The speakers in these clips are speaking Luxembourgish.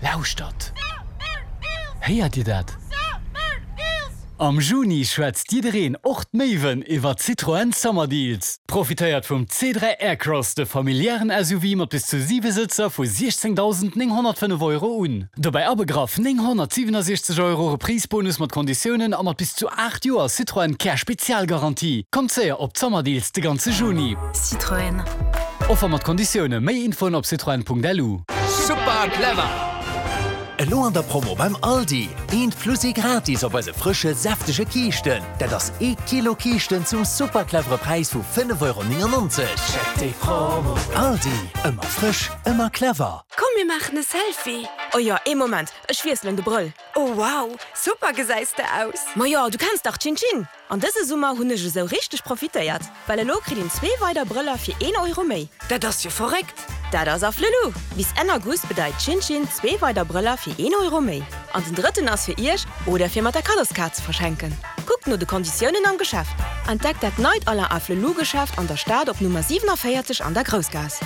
Lauschtert! Héiert Dir dat? Am Juni schwätzt jiddereen, och d'Méiwen, iwwer Citroën Summer Deals. Profitéiert vum C3 Aircross, de familiären SUV mat bis zu 7 Sëtzer vu 16.905 Euro un. Dobäi abegraff 967 Euro Reprise-Bonus mat Konditiounen a mat bis zu 8 Joer Citroën Care Spezialgarantie. Kommt séier op d'Summer Deals de ganze Juni. Citroën. Offer mat Konditioune. Méi Infoen op citroen.lu. Super clever! Elo an der Promo beim Aldi, eent plus ee gratis op eise frësche, säftege Kiischten. Dat ass ee Kilo Kiischten zum super clevere Präis vu 5,99 Euro. Check déi Promo! Aldi, ëmmer frësch, ëmmer clever! Komm mir maachen e Selfie! Oh jo, ee Moment, ech wiesselen de Brëll. Oh wow, super gesäis de aus! Majo, du kenns dach Chin Chin! An dëse Summer hunn ech esou richteg profitéiert, well elo kritt een zwee weider Brëller fir een Euro méi. Dat ass jo verréckt! Dat ass Afflelou! Bis Enn August bedeit Chin Chin zwee weider Brëller fir een Euro méi. An den drëtten ass fir iech oder fir mat der Kaddoskaart ze verschenken. Kuckt no de Konditiounen am Geschäft. Entdeckt dat neit Alain Afflelou Geschäft an der Stad op Nummer 47 an der Groussgaass.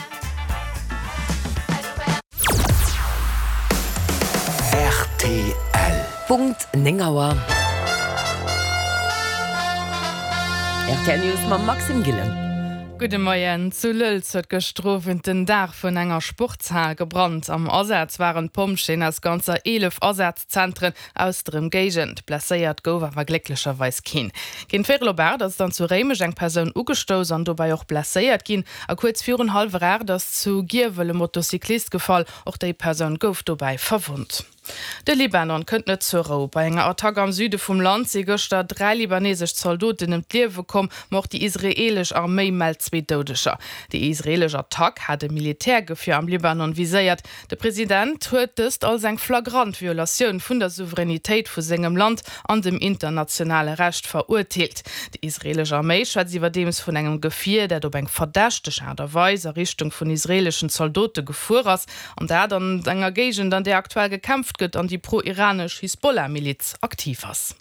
Rtl. Punkt 9 Auer. Rtl News mam Maxime Gillen. Gudde Moien. Zu Lëlz huet gëschter Owend den Daach vun enger Sportshal gebrannt. Am Asaz waren d'Pompjeeën aus ganzer 11 Asazentren aus der Ëmgéigend. Blesséiert gouf awer glécklecherweis keen. Géint véierel op 8 ass dann zu Réimech eng Persoun ugestouss an dobäi och blesséiert ginn. A kuerz virun hallwer 8 ass zu Giewel e Motocyclist gefall. Och déi Persoun gouf dobäi verwonnt. De Libanon kënnt net zur Rou. Bei enger Attack am Süde vum Land si gëschter 3 libanesesch Zaldoten ëm d'Liewe komm, ma och déi israeelesch Arméi mellt zwee Doudeger. Déi israeelesch Attack hat e Militärgefier am Libanon viséiert. De President huet dëst als eng flagrant Violatioun vun der Souveränitéit vu sengem Land an dem internationale Recht verurteelt. Déi israeelesch Arméi schwätzt iwwerdeems vun engem Gefier, dat op eng verdächteg Aart a Weis a Richtung vun israeeleschen Zaldote gefuer ass, an dat an enger Géigend, an där aktuell gekämpft gëtt an déi pro-iranesch Hisbollah-Miliz aktiv ass.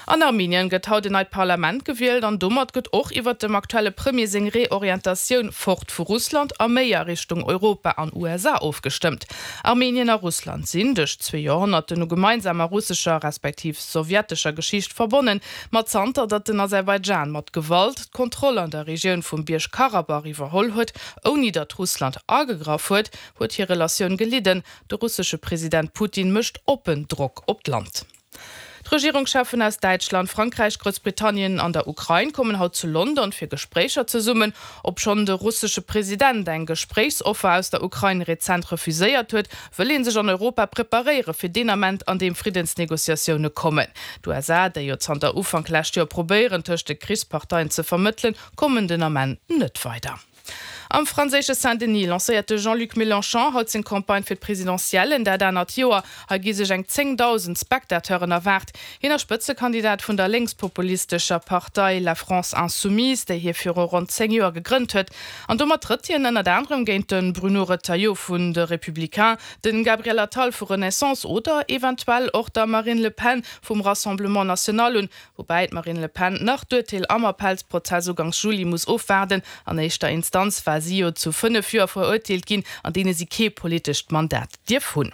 An Armenien gëtt haut en neit Parlament gewielt an domat gëtt och iwwert dem aktuelle Premier seng Reorientatioun fort vu Russland a méi a Richtung Europa an USA ofgestëmmt. Armenien a Russland sinn duerch zwee Joerhonnerten u gemeinsamer russescher respektiv sowjetescher Geschicht verbonnen, ma zanter datt den Aserbaidschan mat Gewalt d'Kontroll an der Regioun vum Bierg-Karabach iwwerholl huet, ouni datt Russland agegraff huet, huet hir Relatioun gelidden. De russesche President Putin mécht oppen Drock op d'Land. D'Regierungscheffen aus Däitschland, Frankräich, Groussbritannien an der Ukrain kommen haut zu London fir Gespréicher zesummen. Obschonn de russesche President eng Gespréichsoffer aus der Ukrain rezent refuséiert huet, wëll ee sech an Europa preparéiere fir deen Ament, an deem Friddensnegociatioune kommen. D'USA, déi jo zanter Ufank lescht Joer probéieren, tëscht de Krichsparteien ze vermëttelen, kommen den Ament net weider. Am franséische Saint-Denis lancéiert de Jean-Luc Mélenchon haut seng Campagne fir d'Presidentiellen dat anert Joer. Hei gi sech eng 10.000 Spectateuren erwaart. Hien ass Spëtzekandidat vun der lénkspopulistescher Partei La France Insoumise, déi hie viru ronn 10 Joer gegrënnt huet. An domat trëtt hien ënnert anerem géint de Bruno Retailleau vun de Républicains, de Gabriel Attal vu Renaissance oder eventuell och der Marine Le Pen vum Rassemblement National un. Woubäi d'Marine Le Pen nach d'Urteel am Appellsprozess ugangs Juli muss ofwaarden. An éischter Instanz war si jo zu 5 Joer verurteelt ginn, an deene si kee politescht Mandat dierf hunn.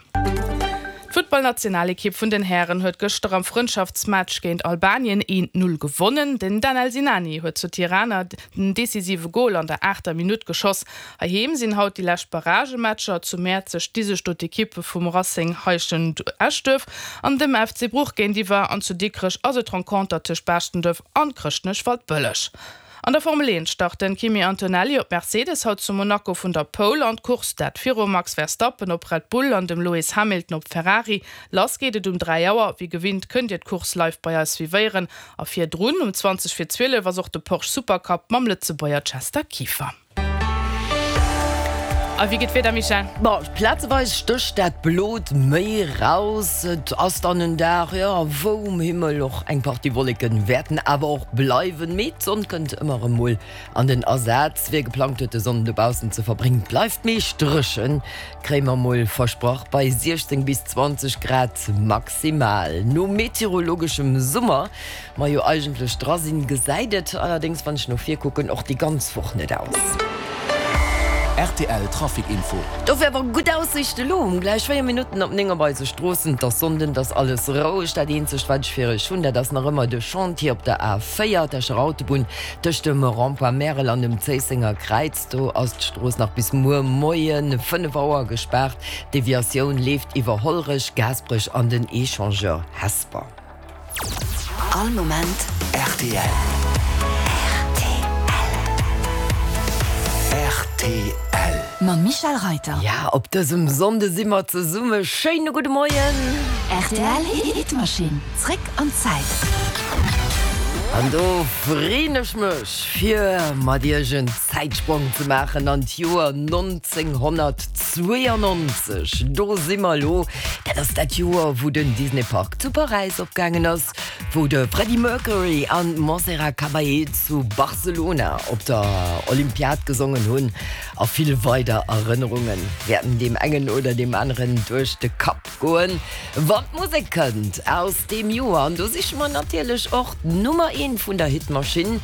D'Futtballnationalekipp vun den Hären huet gëschter am Frëndschaftsmatch géint Albanien 1, 0 gewonnen. Den Danel Sinani huet zu Tirana den decisive Gol an der aachter Minutt geschoss. Heiheem sinn haut déi lescht Barragematcher. Zu Mäerzeg sti sech do d'Ekippe vum Racing Heischent-Eschduerf an dem FC Bruch géintiwwer an zu Dikrech ass et d'Renconter tëscht Baaschtendëf an Chrëschtnech-Waldbëlleg. An der Formel 1 start den Kimi Antonelli op Mercedes haut zu Monaco vun der Pole an d'Course, dat virum Max Verstappen op Red Bull an dem Lewis Hamilton op Ferrari. Lass geet et um 3 Auer. Wéi gewinnt kënnt Dir d'Course live bei eis suivéieren a virdrun um 20 vir 12 ass och de Porsche Supercup mam Lëtzebuerger Chester Kieffer. A wéi geet d'Wieder, Michèle? Bon, plazeweis stécht dat Blot méi raus. Et ass dann en Dag, jo, wou um Himmel och eng Partie Wolleken wäerten awer och bleiwen, mee d'Sonn kënnt ëmmer erëm mol an den Asaz. Wie geplangt huet, de Sonnden dobaussen ze verbréngen, bleift meescht dréchen, kréie mer mol versprach, bei 16 bis 20 Grad maximal. No meteorologeschem Summer Mer jo eigentlech dra sinn, gesäit et allerdéngs, wann ech no vir kucken, och déi ganz Woch net aus. Rtl Trafic Info. Dofir awer gutt Aussiichte elo um gläich 4 Minutten op 9 op eise Stroossen. Et ass Sonnden, et ass alles roueg. Dat eenzegt wat ech fir iech hunn, dat ass nach ëmmer de Chantier op der A4, d'Escher Autobunn, tëscht dem Rond-point Märel an dem Zéissenger Kräiz. Do ass d'Strooss nach bis muer Moie 5 Auer gespaart. D'Deviatioun leeft iwwer Hollerech, Gaasperech an den Echangeur Hesper. All Moment rtl. Rtl. Mam Michel Reiter. Ja, op dësem Sonnde si mer zesumme. Schéine gudde Moien. Rtl Hitmaschinn, zréck an d'Zäit. An do freen ech mech fir mat iech en Zäitsprong ze maachen an d'Joer 1992. Do si mer elo. Dat ass dat Joer, wou den Disney Park zu Paräis opgaangen ass, wou de Freddie Mercury an d'Montserrat Caballé zu Barcelona op der Olympiad gesongen hunn a vill weider Erënnerunge wäerten deem engen oder deem aneren duerch de Kapp goen, wann d'Musek kënnt aus deem Joer. An do siche mer natierlech och d'Nummer eent vun der Hitmaschinn.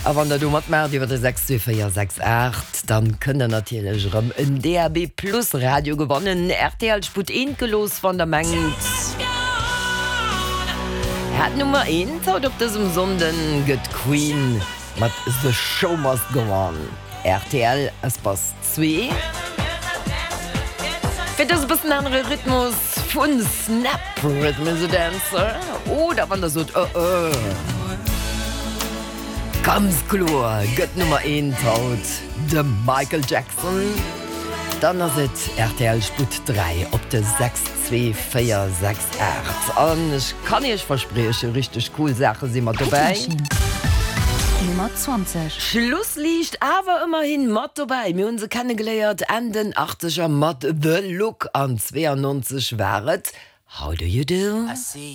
A wann der do matmaacht iwwer de 62468, dann kënnt der natierlech erëm en DAB Plus Radio gewannen. Rtl Sputt eent gelooss, wann der mengt Äert Nummer eent haut op dësem Sonnden gëtt Queen mat The Show Must Go On. Rtl Espace 2 fir dëse bëssen anere Rhythmus vun Snap, Rhythm is a Dancer. Oder wann der sot, oh oh. Ganz kloer gëtt Nummer eent haut de Michael Jackson. Dann ass et rtl Sputt 3 op de 6 2 4 6 8. An ech kann iech verspriechen, richteg cool Saache si mat dobäi. Hitmaschinn Nummer 20. Schlussliicht awer ëmmerhin mat dobäi. Mir hunn se kennegeléiert Enn den Achtzeger mat The Look an 92 war et How Do You Do.